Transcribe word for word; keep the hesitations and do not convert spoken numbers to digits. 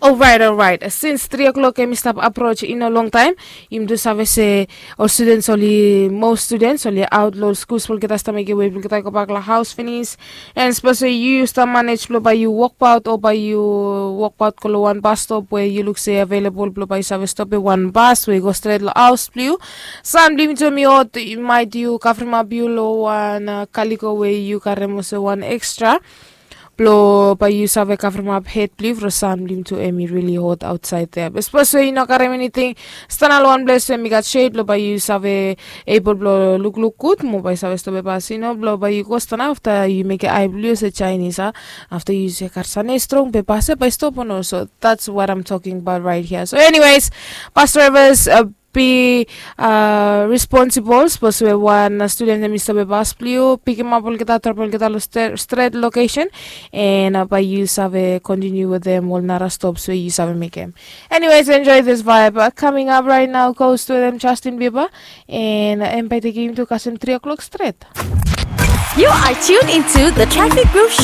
Orait, orait. Sins tri o'klok em i stap aproj i no longtaem, yumi tu save se ol studens oli, most studens oli aot long ol skuls blong olgeta, stap mekem wei blong olgeta i gobak long haos finis. And sapos we yu stap manej blong bae yu wokbaot o bae yu wokbaot go long wan bas stop we yu luk se avelabol blong bae yu save stopem wan bas we i go stret long haos blong yu, san blong yumi tu em i hot. Maet yu kavremap yu long wan kaliko we yu karem olsem wan ekstra blong bae yu save kavremap hed blong yu from san blong yumi tu em i rili hot aotsaed ya. Be sapos we yu no karem eniting, stanap long wan ples we em i gat shed blong bae yu save ebol blong lukluk gud mo bae yu save stopem bas, yu no, blong bae yu go stanap afta yu mekem ae blong yu olsem Chinese, a? Afta yu se gat sane strong be bas ya bae stop o no. So that's what I'm talking about right here. So anyways, bus drivers, uh, be uh, responsible. Sapos we wan uh, studen em i stopem bas blong yu, pikimap olgeta, drop olgeta long stret location, and uh, bae yu save continue wetem ol nara stops we yu save mekem. Anyways, enjoy this vibe. Uh, coming up right now, Ghost wetem Justin Bieber, and uh, em bae tekem yumi tu kasem tri o'clock stret. You are tuned into the Traffic Groove Show.